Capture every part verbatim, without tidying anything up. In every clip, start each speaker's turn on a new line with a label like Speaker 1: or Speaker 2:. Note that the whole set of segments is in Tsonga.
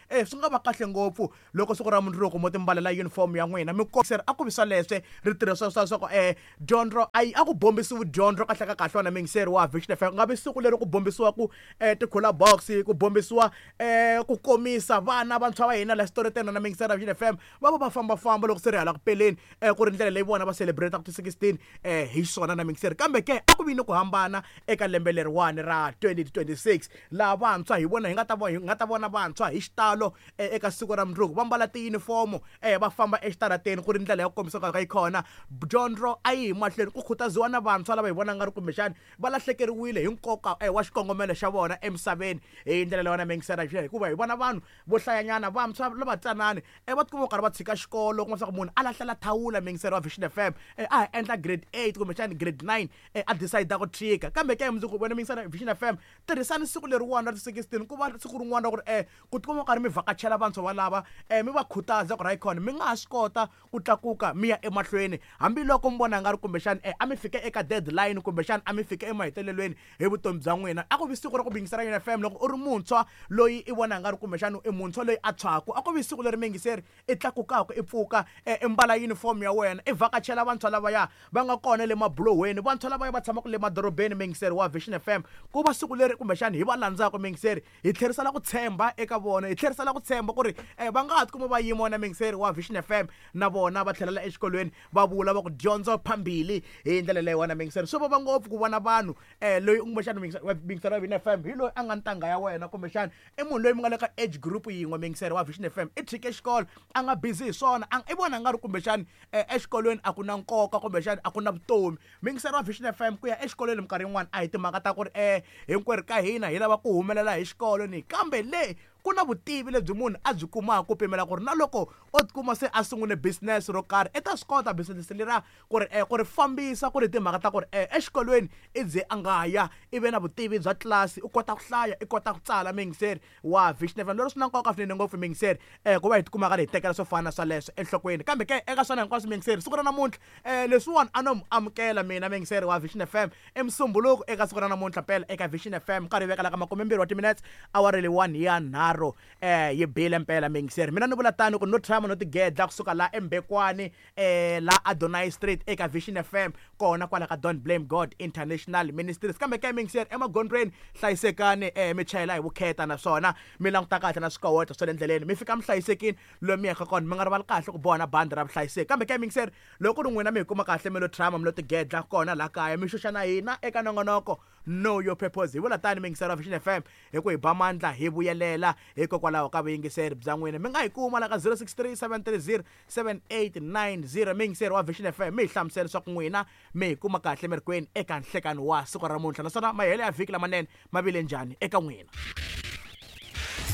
Speaker 1: eh swi nga va kahle ngopfu loko siku ra mundzuku mo timbalela uniform ya n'wina mi kombiseri a ku vi swaleswe ri tirhisiwa swa swa ku eh dyondzo a yi a ku bombisiwi dyondzo kahle ka kahle wena mingiseri wa Vision F M nga vi siku leri ku bombisiwa ku eh ti-cooler box ku bombisiwa eh ku komisa vana vantshwa va hina la xitoreteni na mingiseri wa Vision F M va va va fambafamba loko se ri hala ku peleni eh ku ri ndlela leyi vona va celebrate ku ti sixteen eh hi swona na mingiseri kambe ke a ku vi ni ku hambana eka lembe leriwani ra twenty twenty-six laha vantshwa hi vona hi nga ta hi nga ta vona vantshwa hi xitalo eka siku ra mundzuku va mbala ti-uniform eh va famba exitarateni ku ri ndlela ya ku kombisa ka yi kona dyondzo a yi hi mahlweni ku khutaziwa na vantshwa lava hi vona nga ri kumbexani va lahlekeriwile hi nkoka eh wa xikongomelo xa vona emisaveni hi ndlela leyi wona mingisera hikuva hi vona vanhu vo hlayanyana vantshwa lava tsanani eh va tikuma karhi va tshika xikolo kuma swa ku munhu a lahlela thawula mingisera wa Vision F M eh a endla grade eight kumbexani grade nine eh a decide ku tshika kambe ke mundzuku wena mingisera Vision F M tirhisani siku leriwani ra sixteen ku va siku rin'wana ra ku ri eh ku tikuma karhi mi vhakachela vantshwa valava eh mi va khutaza ku ri hayikhona mi nga ha swi kota ku tlakuka mi ya emahlweni hambiloko mi vona nga ri kumbexani eh a mi fike eka deadline kumbexani a mi fike emahetelelweni hi vutomi bya n'wina a ku vi siku ra ku bingisera Vision F M loko u ri muntshwa loyi i vona nga ri kumbexani i muntshwa loyi a tshwaku a ku vi siku leri mingiseri i tlakukaka i pfuka i mbala uniform ya wena i vhakachela vantshwa lavaya va nga kona le mabulohweni vantshwa lavaya va tshamaka le madorobeni mingiseri wa Vision F M ku va siku leri kumbexani hi va landzaka mingiseri hi tlherisela ku tshemba eka vona hi tlherisela ku tshemba ku ri eh va nga ha tikuma va yima wena mingiseri wa Vision F M na vona va tlhelela exikolweni va vula va ku dyondzo phambili hi ndlela leyi wena mingiseri swi vava ngopfu ku vona vanhu eh loyi kumbexani mingiseri wa Vision F M hi loyi a nga ntanga ya wena kumbexani i munhu loyi mi nga le ka age group yin'we mingiseri wa Vision F M i tshike xikolo a nga busy hi swona i vona nga ri kumbexani exikolweni a ku na nkoka kumbexani a ku na vutomi mingiseri wa Vision F M ku ya exikolweni minkarhi yin'wana a hi timhaka ta ku ri eh hinkwerhu ka hina hi lava ku humelela hi xikolo ni kambe le ku na vutivi lebyi munhu a byi kumaka ku pimela ku ri na loko o tikuma se a sungule business ro karhi i ta swi kota business leriya ku ri eh ku ri fambisa ku ri timhaka ta ku ri eh exikolweni i ze a nga ya i ve na vutivi bya tlilasi u kota ku hlaya i kota ku tsala mingiseri wa Vision F M lero swi na nkoka swinene ngopfu mingiseri eh ku va hi tikuma karhi hi tekela swo fana swaleswo enhlokweni kambe ke eka swona hinkwaswo mingiseri siku ra namuntlha eh leswiwani a no mu amukela mina mingiseri wa Vision F M eMsumbuluko eka siku ra namuntlha mpela eka Vision F M nkarhi vekela ka makumembirhi wa timinetse awara leyiwani ya nharhu eh yi bile mpela mingiseri mina ni vula tani ku no tshama no tigedla kusuka la eMbekwani eh la Adonai Street eka Vision F M kona kwala ka Don't Blame God International Ministries kambe ke mingiseri emagondzweni hlayisekani eh mi chayela hi vukheta naswona mi languta kahle na swikoweta swa le ndleleni mi fika mi hlayisekini lomu mi yaka kona mi nga rivali kahle ku boha na bandi ra vuhlayiseki kambe ke mingiseri loko ri n'wina mi hi kuma kahle mi lo tshama mi lo tigedla kona la kaya mi xuxa na hina eka nongonoko Know Your Purpose hi vula tani mingiseri wa Vision F M hi ku hi ba mandla hi vuyelela hikokwalaho ka vuyingiseri bya n'wina mi nga hi kuma la ka zero six three seven three zero seven eight nine zero mingiseri wa Vision F M mi hi hlamusela leswaku n'wina mi hi kuma kahle mi ri kwini eka nhlekani wa siku ra namuntlha naswona mahelo ya vhiki lamanene ma vile njhani eka n'wina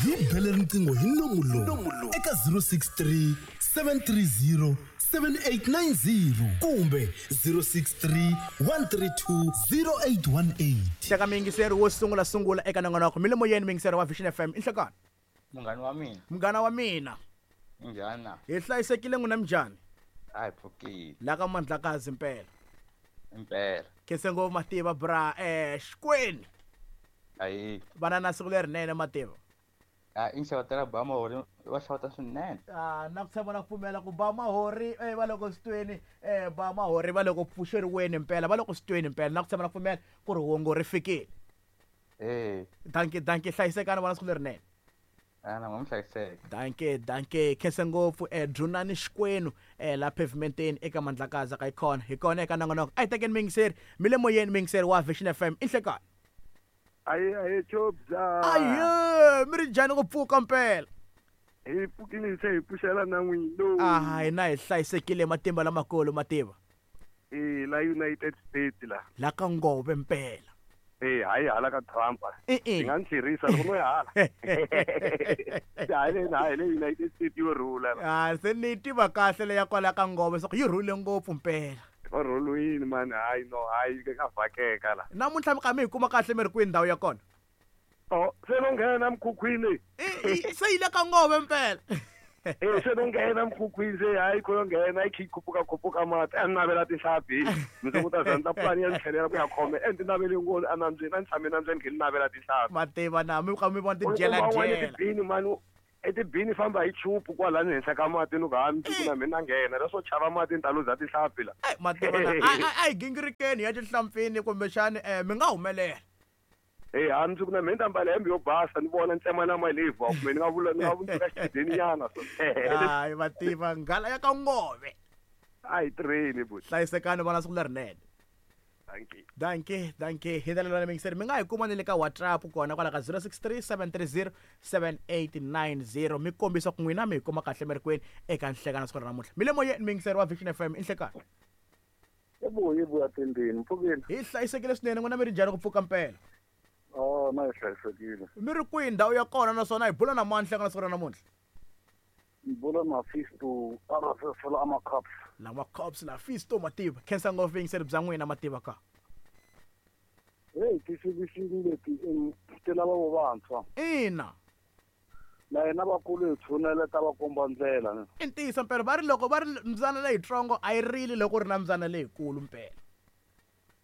Speaker 2: hi bele riqingho hi nomu lowu eka zero six three seven three zero seven eight nine zero kumbe zero six three one three two zero eight one eight
Speaker 1: Hleka mingiseri wo sungula sungula eka nongonoko mi le moyeni mingiseri wa Vision F M i nhlekani
Speaker 3: munghana wa mina
Speaker 1: munghana wa mina
Speaker 3: njhani
Speaker 1: hi hlayisekile n'wina minjhani
Speaker 3: a hi pfukile
Speaker 1: la ka Mandlakazi mpela
Speaker 3: impela
Speaker 1: khense ngopfu mativa bra eh Xikwenu
Speaker 3: ayi
Speaker 1: vana na siku lerinene mativa
Speaker 3: a i nxavatela ba mahori va xavata swinene
Speaker 1: ah na ku tshemba na ku pfumela ku ba mahori eh va loko switweni eh ba mahori va loko pfuxeriweni mpela va loko switweni mpela na ku tshemba na ku pfumela ku ri wongo ri fikile
Speaker 3: eh
Speaker 1: dankie dankie hlayisekani vana siku lerinene
Speaker 3: ana n'wi hlayiseka
Speaker 1: dankie dankie khense ngopfu eh Dzunani Xikwenu eh la pavementeni eka Mandlakazi ka ikona hi kona eka nongonoko a hi tekeni mingiseri mi le moyeni mingiseri wa Vision F M i nhlekani
Speaker 4: aye aye chobza
Speaker 1: aye mi ri njhani ku pfuka mpela
Speaker 4: hi pfukile se hi pfuxela na n'wino
Speaker 1: ah hina hi hlayisekile matimba lamakulu mativa
Speaker 4: eh la United States la
Speaker 1: la ka Ngove mpela
Speaker 4: eh hayi hala ka Trump
Speaker 1: i
Speaker 4: nga ntlherisa loko no ya hala hayi le hayi le United States yo rhula
Speaker 1: ah se ni tiva kahle le ya kwala ka Ngove so yi rhule ngopfu mpela
Speaker 4: rhulwini mani hayi no hayi ka vhakeka la
Speaker 1: namuntlha mi ka mi hi kuma kahle mi ri kwihi ndhawu ya kona
Speaker 4: oh se no nghena mkhukhwini
Speaker 1: se yi le ka Ngove mpela
Speaker 4: eh se no nghena mkhukhwini se hayi ko nghena yi khi khuphuka khuphuka mati a navela tinhlampfi ndzi ku ta zandla pulani ya tlhelela ku ya khome e ndzi navele ngopfu a nambyeni a ni tshame nambyeni khe ni navela tinhlampfi
Speaker 1: mativa na mi ka mi vona tidyela dyela
Speaker 4: tibini mani I tibini famba hi chupu kwalani henhla ka mati ni ku ha mundzuku na mina nghena leswo chava mati ni ta luza tinhlampfi la.
Speaker 1: Ai mativa na a a hi gingirikeni ya tinhlampfini kumbexani um mi nga humelela.
Speaker 4: Hey, ha mundzuku na mina ni ta mbala hembe yo basa ni vona ntsema na malevhu kumbe ni nga vula ni nga vundzuka xichudeni nyana so.
Speaker 1: Hayi mativa nghala ya ka ngove.
Speaker 4: A hi tirheni buti.
Speaker 1: Hlayisekani vana siku lerinene.
Speaker 4: Dankie.
Speaker 1: Dankie, dankie. Hi ndlela leyi mingiseri mi nga hi kuma ni le ka WhatsApp kona kwala ka zero six three seven three zero seven eight nine zero mi kombisa ku n'wina mi hi kuma kahle mi ri kwini eka nhlekano siku ra namuntlha. Mi le moyeni mingiseri wa Vision F M i nhlekano.
Speaker 5: Yebo, yebo ya tendeni, mpfukeni.
Speaker 1: Hi hlayisekile swinene n'wina mi ri njhani ku pfuka mpela?
Speaker 5: Oh, na hi hlayisekile.
Speaker 1: Mi ri kwihi ndhawu ya kona naswona hi bula na mani nhlekano siku ra namuntlha?
Speaker 5: Hi bula na Fisto, a ra fela ama cops.
Speaker 1: Lama cops la Fisto mativa. Khensa ngopfu yingiseri bya n'wina mativa ka.
Speaker 5: Hey, ti-C B C leti ti lava vo vantshwa.
Speaker 1: Ina.
Speaker 5: Na hina vakulu hi tshunela ta va komba ndlela ne.
Speaker 1: I ntiyiso mpela va ri loko va ri mbyana leyitsongo a yi rili loko ri na mbyana leyikulu mpela.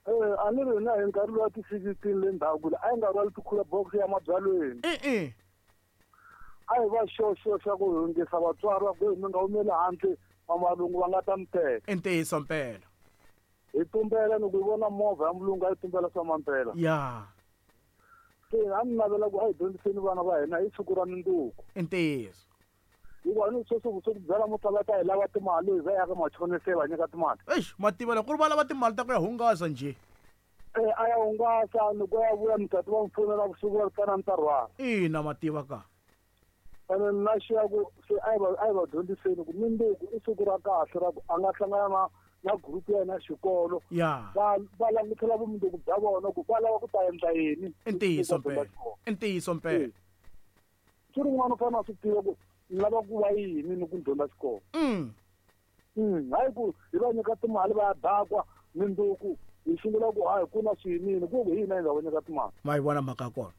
Speaker 5: Eh, a ni ri na hi nkarhi lowa ti-sixteen le ndzhaku a yi nga rhwali ti-cooler box ya mabyalweni.
Speaker 1: E-e.
Speaker 5: A hi va xoxo xa ku hundzisa vatswari va ku mi nga humeli handle vamalungu va nga ta mi teka.
Speaker 1: I ntiyiso mpela.
Speaker 5: Hi tumbela ni ku vona movha ya mulungu a yi tumbela swa mampela.
Speaker 1: Ya.
Speaker 5: Se a ni navela ku a hi dyondziseni vana va hina hi siku ra mundzuku.
Speaker 1: I ntiyiso.
Speaker 5: Hikuva ni sweswi swo ku byala mo tala ta hi lava timali hi va ya ka machonisa hi va nyika timali.
Speaker 1: Eish, mativa loko ku ri va lava timali ta ku ya hungasa njhe.
Speaker 5: Eh, a ya hungasa ni ku ya vuya mutati va n'wi fonela vusiku va ri tana ni ta rhwala.
Speaker 1: Ina mativa ka.
Speaker 5: Ene na xiya ku se a hi va a hi va dyondziseni ku mundzuku i siku ra kahle ra ku a nga hlangana na na group ya yena xikolo.
Speaker 1: Ya.
Speaker 5: Va va langutela vumundzuku bya vona ku va lava ku ta endla yini.
Speaker 1: I ntiyiso mpela. I ntiyiso mpela.
Speaker 5: Swi ri n'wana u fanele a swi tiva ku ni lava ku va yini ni ku dyondza xikolo.
Speaker 1: Mm.
Speaker 5: Mm, hayi ku hi va nyika timali va ya dakwa mundzuku hi sungula ku hayi ku na swiyinini ku hi hina hi nga va nyika timali.
Speaker 1: Ma yi vona mhaka ya kona.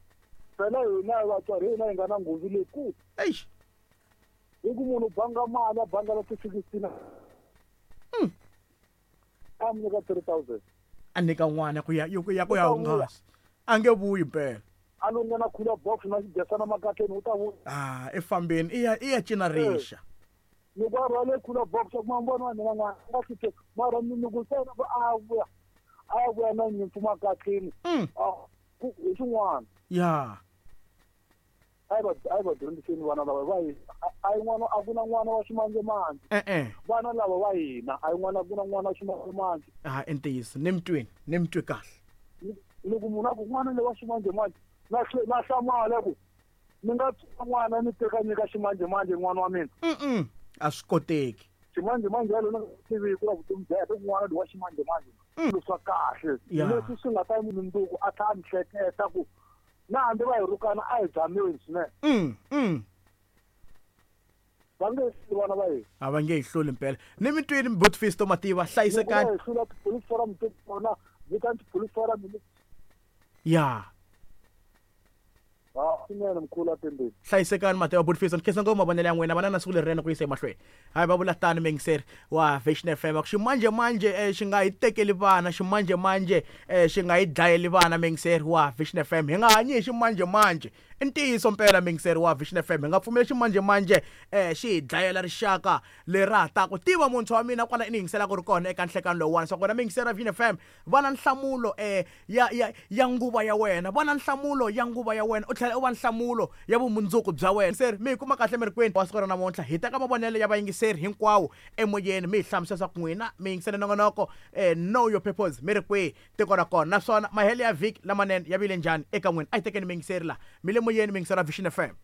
Speaker 5: Phela hina vatswari hina hi nga na nghozi leyikulu.
Speaker 1: Eish.
Speaker 5: Hi ku munhu u banga mali a banga la ti-sixteen.
Speaker 1: Mm.
Speaker 5: A mi nyika three thousand.
Speaker 1: A nyika n'wana ku ya ku ya ku ya hungasa. A nge vuyi mpela.
Speaker 5: A lo nghena cooler box na xidyasana makatleni u ta vuya.
Speaker 1: Ah, i fambeni i ya i ya cina rixa.
Speaker 5: Loko a rhwale cooler box ku ma vona wa mina n'wana a nga swi tivi mara ni ku ntsena ku a vuya a vuya na nyimpfu makatleni.
Speaker 1: Mm.
Speaker 5: Ku hi xin'wana.
Speaker 1: Ya.
Speaker 5: A hi va a hi va dyondziseni vana lava va hina a yi n'wana a ku na n'wana wa ximanjhemanjhe.
Speaker 1: E-e.
Speaker 5: Vana lava va hina a yi n'wana a ku na n'wana wa ximanjhemanjhe.
Speaker 1: Ah, i ntiyiso ni mi twini ni mi twi kahle.
Speaker 5: Loko munhu a ku n'wana loyi wa ximanjhemanjhe na na hlamala ku ni nga tswala n'wana ni teka nyika ximanjhemanjhe n'wana wa mina.
Speaker 1: Mm-mm. A swi koteki.
Speaker 5: Ximanjhemanjhe yalo ni nga tivi ku la vutomi bya yena n'wana loyi wa ximanjhemanjhe. Swilo swa kahle. Leswi swi nga ta mundzuku a tlhela a ni hleketa ku na hambi va hi rhukana a hi dzameni swinene.
Speaker 1: Mm, mm.
Speaker 5: Va nge hluli vana va hina.
Speaker 1: A va nge hi hluli mpela. Ni mi twini Botfisto mativa hlayisekani.
Speaker 5: Hi hlula ti-police forum te kona, vitani ti-police forum.
Speaker 1: Ya.
Speaker 5: Ah, swinene mkhulu atendeni.
Speaker 1: Hlayisekani mativa Botfisto, ni khensa ngopfu mavonelo ya n'wina vana na siku lerinene ku yisa emahlweni. Hayi va vula tani mingiseri wa Vision F M ku ximanjhemanjhe xi nga hi tekeli vana, ximanjhemanjhe xi nga hi dlayeli vana mingiseri wa Vision F M. Hi nga hanyi hi ximanjhemanjhe. I ntiyiso mpela mingiseri wa Vision F M hi nga pfumeli ximanjhemanjhe xi hi dlayela rixaka lera ha taka. Tiva muntshwa wa mina kwala i ni yingiselaka ri kona eka nhlekano lowuwani swa ku wena mingiseri wa Vision F M va na nhlamulo ya ya ya nguva ya wena, va na nhlamulo ya nguva ya wena u tlhela u va nhlamulo ya vumundzuku bya wena. Seri mi hi kuma kahle mi ri kwini wa siku ra namuntlha hi teka mavonelo ya vayingiseri hinkwawo emoyeni mi hi hlamusela swa ku n'wina mi yingisele nongonoko know your purpose mi ri kwihi tiko ra kona naswona mahelo ya vhiki lamanene ya vile njhani eka n'wina. A hi tekeni miyingiseri la mi le moyeni miyingiseri wa Vision F M.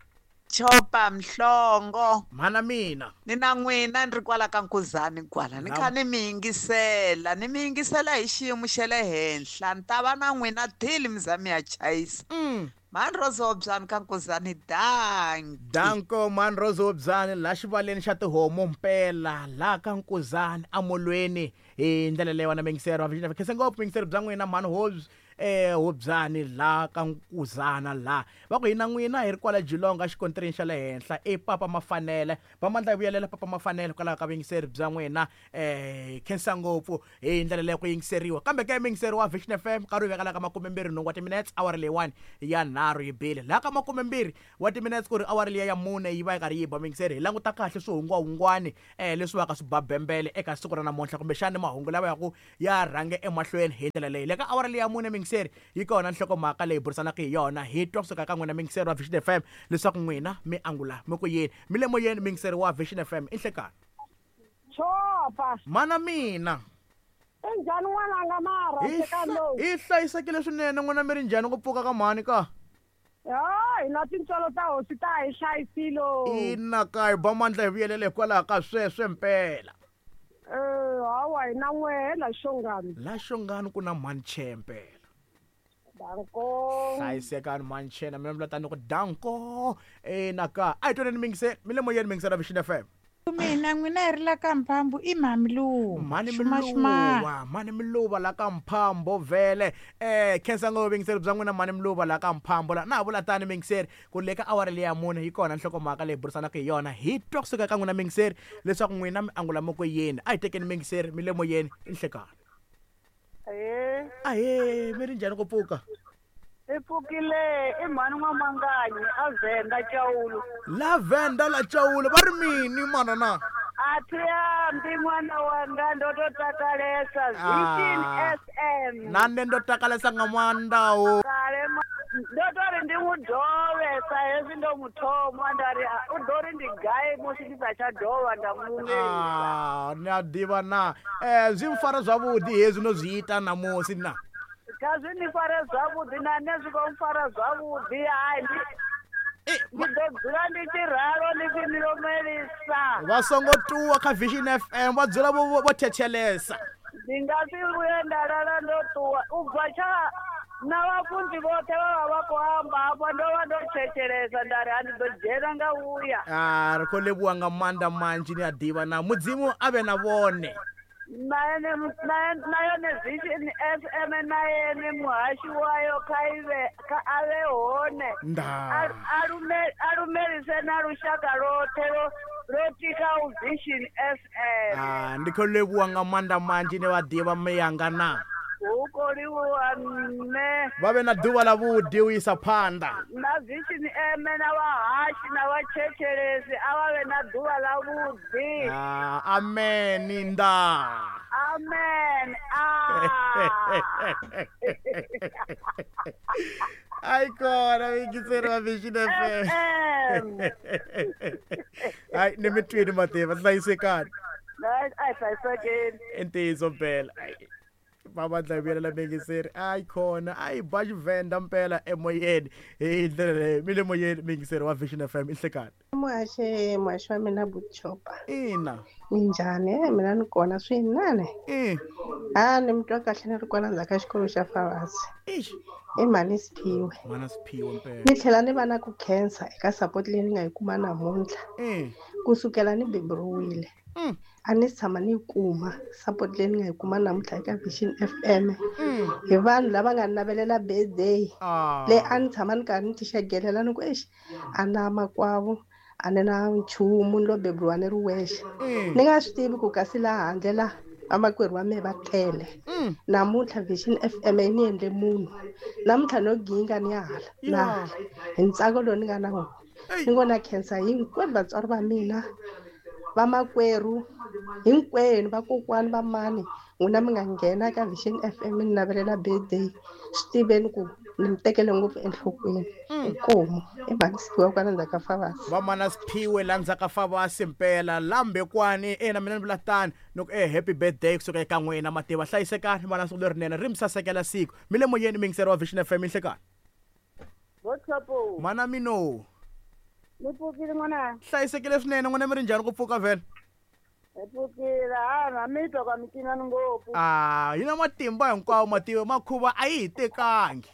Speaker 6: Chopa mhlongo.
Speaker 1: Mhana mina.
Speaker 6: Ni na n'wina ni ri kwala ka Nkuzani kwala. Ni kha ni mi yingisela, ni mi yingisela hi xiyimo xa le henhla. Ni ta va na n'wina till mi za mi ya chayisa.
Speaker 1: Mm.
Speaker 6: Mhani Rozobyani ka Nkuzani, danki.
Speaker 1: Danko mhani Rozobyani la xivaleni xa tihomu mpela la ka Nkuzani amolweni hi ndlela leyi wena mingiseri wa Vision F M. Khensa ngopfu mingiseri bya n'wina mhani Hobbs. eh Hobyani la ka Nkuzana la va ku hina n'wina hi ri kwala Jilonga xikontirini xa le henhla e Papa Mafanele va mandla hi vuyelela Papa Mafanele kwalaho ka vuyingiseri bya n'wina eh khensa ngopfu hi ndlela leyi ku yingiseriwa kambe ke muyingiseri wa Vision F M nkarhi wu vekela ka makumembirhi nhungu wa timinetse awara leyiwani ya nharhu yi bile laha ka makumembirhi wa timinetse ku ri awara liya ya mune yi va yi karhi yi ba muyingiseri hi languta kahle swihungwahungwani eh leswi va ka swi babembele eka siku ra namuntlha kumbexani mahungu lawa ya ku ya rhange emahlweni hi ndlela leyi le ka awara leyi ya mune muyingiseri yi kona nhlokomhaka leyi burisanaka hi yona hi twa kusuka ka n'wina muyingiseri wa Vision F M leswaku n'wina mi angula mi ku yini mi le moyeni muyingiseri wa Vision F M i nhlekani
Speaker 7: Chopa
Speaker 1: mana mina
Speaker 7: i njhani n'wananga mara nhlekani lowu
Speaker 1: i hlayisekile swinene n'wina mi ri njhani ku pfuka ka mhani ka
Speaker 7: ha hina tintswalo ta hosi ta hi hlayisile
Speaker 1: ina ka hi ba mandla hi vuyelele hikwalaho ka sweswe mpela
Speaker 7: eh hawa hina n'we la Xongani
Speaker 1: la Xongani ku na mhani che mpela
Speaker 7: danko
Speaker 1: hlayisekani mhani che na mina vula tani ku danko ina ka a hi twaneni muyingiseri mi le moyeni muyingiseri wa Vision F M
Speaker 8: mina n'wina hi ri la ka Mphambo i mhani Miluva
Speaker 1: mhani Miluva mhani Miluva la ka Mphambo vhele eh khensa ngopfu vuyingiseri bya n'wina mhani Miluva la ka Mphambo la na ha vula tani muyingiseri ku le ka awara leyi ya mune yi kona nhlokomhaka leyi burisanaka hi yona hi twa kusuka ka n'wina muyingiseri leswaku n'wina mi angula mi ku yini a hi tekeni muyingiseri mi le moyeni i nhlekani
Speaker 7: ahee
Speaker 1: ahee mi ri njhani ku pfuka
Speaker 7: i pfukile i mhani N'wamanganyi a Venda Cawulo
Speaker 1: la Venda la Cawulo va ri mini mana na
Speaker 7: a thi ambi n'wana wanga ndo to takalesa Vision S M
Speaker 1: na nṋe ndo takalesa nga maanḓaho
Speaker 7: kale ndo to ri ndi n'wi dove sa hezwi ndo mu thoma nda ri u ḓo ri ndi gai musi ndi sa tsha dovha nda mu
Speaker 1: ah ni a ḓivha na eh zwi mfara zwavhuḓi hezwi no zwi ita namusi na
Speaker 7: kha zwi ni fare zwavhuḓi na nṋe zwi khou mpfara zwavhuḓi hai ndi ndi ḓo dzula ndi tshi ralo ndi tshi ni lumelisa
Speaker 1: vha songo ṱuwa kha Vision F M vha dzula vho vho thetshelesa
Speaker 7: ndi nga si vhuye nda lala ndo ṱuwa u bva tsha na vhafunzi vhoṱhe vha vha vha khou amba hafha ndo vha ndo thetshelesa nda ri a ndi ḓo dzhena nga vhuya
Speaker 1: ah ri khou livhuwa nga maanḓa manzhi ni a ḓivha na mudzimu a vhe na vhone
Speaker 7: na ene na yone Vision F M na ene muhashi wayo kha ive kha ave hone a lumelise na lushaka lwoṱhe lwo tika u Vision F M
Speaker 1: ah ndi khou livhuwa nga maanḓa manzhi ni vha ḓivha miyanga na
Speaker 7: hu khou livhuwa nṋe
Speaker 1: vha vhe na ḓuvha ḽa vhuḓi u isa phanḓa
Speaker 7: na Vision M na vhahashi na vhatshetshelesi a vha vhe na ḓuvha ḽa vhuḓi
Speaker 1: ah amen nda
Speaker 7: amen ah
Speaker 1: ai kona vuyingiseri wa Vision F M ai ni mi twini mativa hlayisekani
Speaker 7: a hi hlayisekeni
Speaker 1: i ntiyiso mpela va mandla hi vuyelela muyingiseri ayi khona a yi ba Xivenda mpela emoyeni hi ndlela leyi mi le moyeni muyingiseri wa Vision F M i nhlekani
Speaker 9: muhaxi muhaxi wa mina Buchopa
Speaker 1: ina
Speaker 9: minjhani mina ni kona swinene a ni mi twa kahle ni ri kwala ndzhaku ka xikolo xa Favasi i mhani Siphiwe
Speaker 1: mhana Siphiwe mpela
Speaker 9: ni tlhela ni va na ku khensa eka support leyi ni nga yi kuma namuntlha kusukela ni beburiwile a ni si tshama ni yi kuma support leyi ni nga yi kuma namuntlha eka Vision F M hi vanhu lava nga navelela birthday leyi a ni tshama ni karhi ni tixegelela ni ku exi a na makwavo a ni na nchumu ni lo beburiwa ni ri wexe ni nga swi tivi ku kasi laha handle la vamakwerhu wa mehe va tele namuntlha Vision F M yi ni endle munhu namuntlha no ginga ni ya hala na hala hi ntsako lowu ni nga na wona ni ngo na khensa hinkwenu vatswari va mina vamakwerhu hinkwenu vakokwani va mani n'wina mi nga nghena ka Vision F M ni navelela birthday swi tiveni ku ni mi tekele ngopfu enhlokweni inkomu i mhani Siphiwe kwala ndzhaku ka Favasi
Speaker 1: va mana Siphiwe la ndzhaku ka Favasi mpela lambekwani ena mina ni vula tani ni ku e happy birthday kusuka eka n'wina mativa hlayisekani va na siku lerinene ri mi sasekela siku mi le moyeni muyingiseri wa Vision F M inhlekani mana mino
Speaker 7: ni pfukile n'wana
Speaker 1: hlayisekile swinene n'wina mi ri njhani ku pfuka vhele
Speaker 7: hi pfukile ha mi twa ka micinani ngopfu
Speaker 1: ah yi na matimba hinkwawo mativa makhuva a yi hi tekangi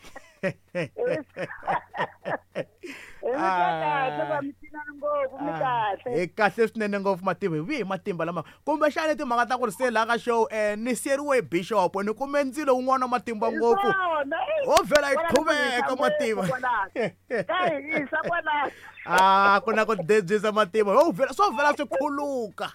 Speaker 1: Hi kahle swinene ngopfu matimba hi vihi matimba lama kumbexani timhaka ta ku ri se laha ka show um ni siyeriwe hi bishop ni kume ndzilo wun'wana wa matimba ngopfu ho vhela hi qhuveka matimba a ku na ku debyisa matimba ho vhela swo vhela swi khuluka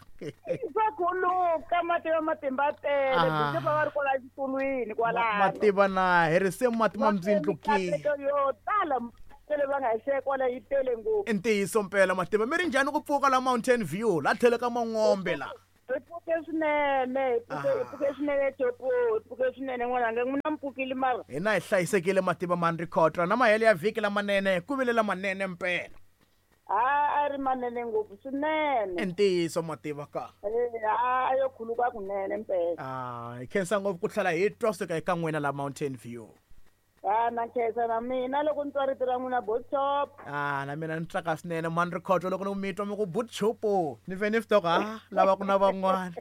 Speaker 7: swa khuluka matimba matimba tele bishop va ri kwala xitulwini kwalano
Speaker 1: matimba na hi risimu matimba mbyindlukile
Speaker 7: yo tala tele va nga hi kwala yi tele ngopfu
Speaker 1: i ntiyiso mpela matimba mi ri njhani ku pfuka la Mountain View la tlhelo ka Mangombe la
Speaker 7: hi pfuke swinene hi pfuke hi pfuke swinene topo hi pfuke swinene n'wananga n'wina mi pfukile mara
Speaker 1: hina hi hlayisekile matimba mani rikhotra na mahele ya vhiki lamanene ku vile lamanene mpela
Speaker 7: a a ri manene ngopfu swinene
Speaker 1: i ntiyiso mativa ka
Speaker 7: a yo khuluka kunene mpela
Speaker 1: a hi khensa ngopfu ku tlhela hi twa suka eka n'wina la Mountain View.
Speaker 7: Ah, na khensa na mina loko ni twa rito ra n'wina botshop.
Speaker 1: Ah, na mina ni tsaka swinene mani rikhoto loko ni mi twa mi ku botshop ni vhe ni swi ah lava ku na van'wana.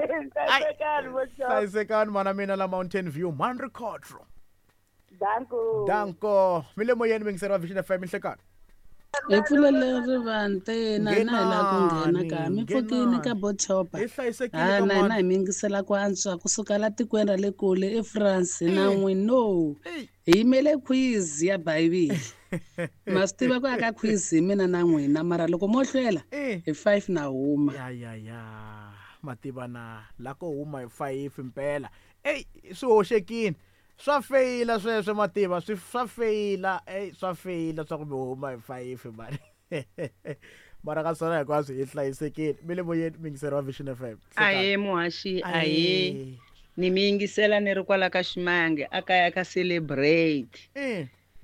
Speaker 7: Hlayisekani botshop.
Speaker 1: Hlayisekani mana mina la Mountain View mani rikhoto.
Speaker 7: Danko.
Speaker 1: Danko. Mi le moyeni mingiseri wa Vision F M inhlekani.
Speaker 10: Hi pfulele rivanti na hina hi lava ku nghena ka mi pfukini ka botshop.
Speaker 1: Hi hlayisekile
Speaker 10: ka na hina hi mi yingisela ku antswa kusuka la tikweni ra le kule eFrance na n'wino. Hi yimele quiz ya Bibele. Ma swi tiva ku aka quiz hi mina na n'wina mara loko mo hlwela hi five na huma.
Speaker 1: Ya ya ya mativa na la ko huma hi five mpela. Ey swi hoxekile. Swa feyila sweswo mativa swi swa feyila ey swa feyila swa ku mi huma hi five mani mara ka swona hinkwaswo hi hlayisekile mi le moyeni mingiseri wa Vision F M.
Speaker 11: Ahe muhaxi ahe ni mi yingisela ni ri kwala ka Ximange a kaya ka celebrate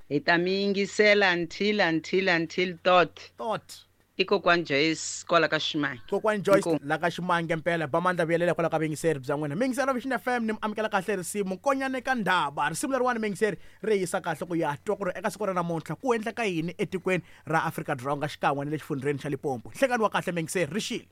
Speaker 11: hi ta mi yingisela until until until tot
Speaker 1: tot
Speaker 11: i kokwani Joyce kwala ka Ximange.
Speaker 1: Kokwani Joyce la ka Ximange mpela ba mandla vuyelela kwala ka vuyingiseri bya n'wina. Mingiseri wa Vision F M ni mi amukela kahle risimu Nkonyane ka Ndaba. Risimu leriwani mingiseri ri yisa kahle ku ya twa ku ri eka siku ra namuntlha ku endleka yini etikweni ra Afrika-Dzonga xikan'we na le xifundzheni xa Limpopo. Nhlekani wa kahle mingiseri ri xile.